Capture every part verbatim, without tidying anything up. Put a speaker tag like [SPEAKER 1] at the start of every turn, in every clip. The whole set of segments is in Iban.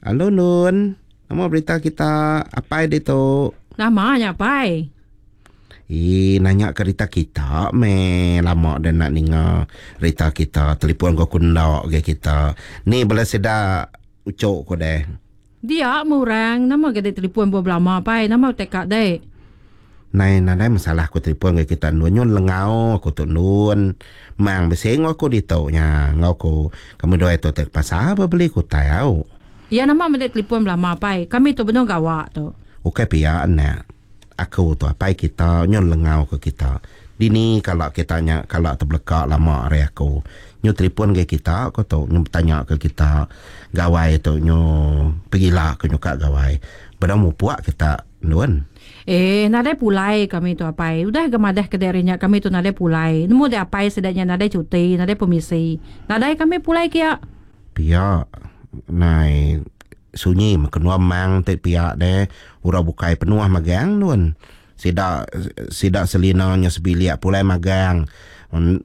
[SPEAKER 1] Halo Nun. Nama berita kita apai ditu?
[SPEAKER 2] Nama nya apai?
[SPEAKER 1] Ih, nanya ke rita kita meh. Lama dah nak ninga rita kita. Telefon ko kunda ke kita. Ni bela sida ucuk ko deh.
[SPEAKER 2] Dia murang nama ke telefon buat lama apai. Nama tekak deh.
[SPEAKER 1] Nai nadai masalah aku telefon ke kita nun nyun lengau aku tu nun. Mang besing aku ditu nya. Ngau aku kami dua itu tek pasar beli kutai au.
[SPEAKER 2] Ya nama mendek telefon lama apai. Kami tu benar gawak tu.
[SPEAKER 1] Okey pia anak. Aku tu apai kita nyun lengau ke kita. Dini kalau kita nya kalau terbelakak lama hari aku. Nyu telefon ke kita aku tu nyu bertanya ke kita gawai tu nyu pergilah aku nyuka gawai. Benda mupuak kita nun.
[SPEAKER 2] Eh nadai pulai kami tu apai. Udah gemadah ke darinya kami tu nadai pulai. Nemu de apai sedaknya nadai cuti, nadai permisi. Nadai kami pulai kia.
[SPEAKER 1] Pia nai sunyi makenua mang te pia de ura bukai penuh magang nun. Sida sida selina nya sebilik pulai magang.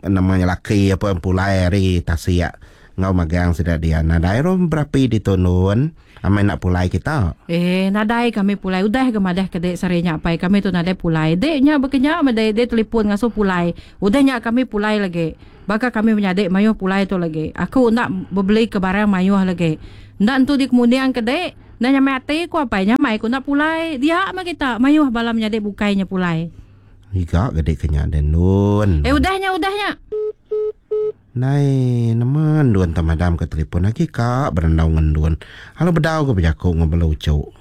[SPEAKER 1] Namanya laki apa pulai hari tasiak ngau magang sida dia. Nadai rom berapi di tunun. Amai nak pulai kita.
[SPEAKER 2] Eh nadai kami pulai. Udah gemadah ke dek sarinya apai kami tu nadai pulai. Dek nya berkenya medai dek telefon ngasuh pulai. Udah nya kami pulai lagi. Baka kami menyadik mayuh pulai tu lagi. Aku nak beli ke barang mayuh lagi. Ndak entu di kemudian ke dek. Nak nyamai hati ku apai nyamai ku nak pulai. Dia mah kita mayuh bala menyadik bukainya pulai.
[SPEAKER 1] Iga gede kenya den nun.
[SPEAKER 2] Eh udahnya udahnya.
[SPEAKER 1] Nai nama duan tamadam ke telefon lagi kak berendau ngendun. Halo bedau ke berjakuk ngobel ucuk.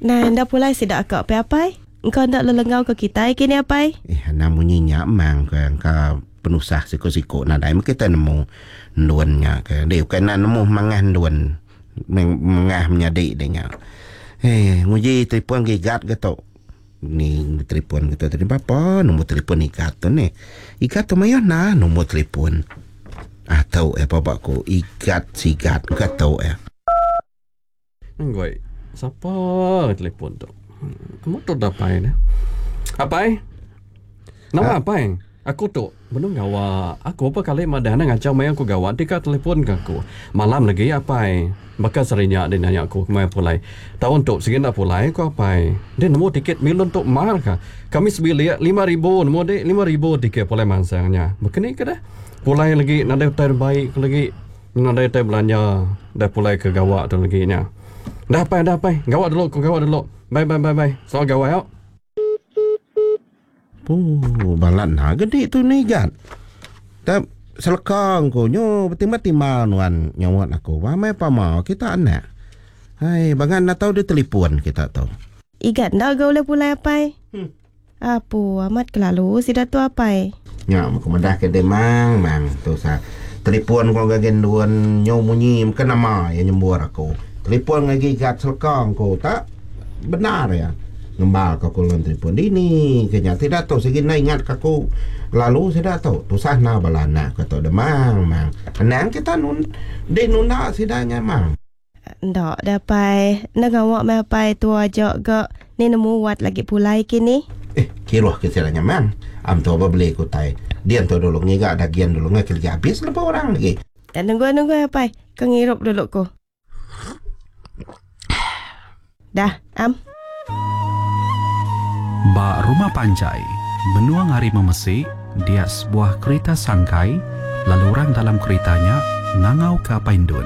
[SPEAKER 3] Nah, ndak pulai sidak kak pe apai. Engkau ndak lelengau ke kita kini apai?
[SPEAKER 1] Eh namunyi nyak mang ke engkau penusah siko-siko nadai kita nemu nduannya ke. Dia bukan nak nemu mangah nduan. Mengah menyadik dia nya. Eh nguji telefon gigat ke tu. Ni telefon kita tadi apa nombor telefon ikat tu ni. Ikat tu mayo nah nombor telefon. Ah tahu eh apa aku ikat sigat ke tahu eh.
[SPEAKER 4] Nggoi. Siapa telefon tu? Kamu tu dah pai ni. Apai? Nama apai? Aku tu belum gawa. Aku apa kali madana ngacau mai aku gawa tika telefon ke aku. Malam lagi apai. Bakal serinya dia nanya aku kemai pulai. Tahun tu segini nak pulai aku apai. Dia nemu tiket milon tu mahal ka. Kami sebilik lima ribu nemu dek lima ribu tiket pulai mansangnya. Begini ke dah? Pulai lagi nadai terbaik lagi. Nadai ter belanja dah pulai ke gawa tu lagi nya. Dah apai dah apai. Gawa dulu aku gawa dulu. Bye bye bye bye. Soal gawa yuk.
[SPEAKER 1] Oh, balat nah gede tu ni gat. Tak selekang ko nyo bertimbang-timbang nuan nyawat aku. Ramai pama kita anak. Hai, bangan nak tahu dia telefon kita tahu.
[SPEAKER 3] Igat ndak gak boleh pulai apai? Hmm. Apu amat kelalu sida tu apai.
[SPEAKER 1] Nya aku madah ke demang mang tu sa. Telefon ko gagen duan nyo munyi ke nama yang nyembur aku. Telefon lagi gat selekang ko tak benar ya. Ngembal ke aku telefon dini kenya tidak tahu segi na ingat ke aku lalu saya dah tahu tusah na balana kata demang mang anang kita nun de nunda sidanya mang
[SPEAKER 3] ndak dapai nak awak mai pai tu ajak ke ni nemu wat lagi pulai kini
[SPEAKER 1] eh kiruh ke sidanya mang am tu apa beli ku tai dia tu dulu ngiga dagian dulu ngak lagi habis lepas orang lagi
[SPEAKER 3] dan nunggu nunggu apai ke ngirup dulu ko dah am.
[SPEAKER 5] Ba rumah panjai, menuang hari memesi, dia sebuah kereta sangkai, lalu orang dalam keretanya ngangau ke Paindun.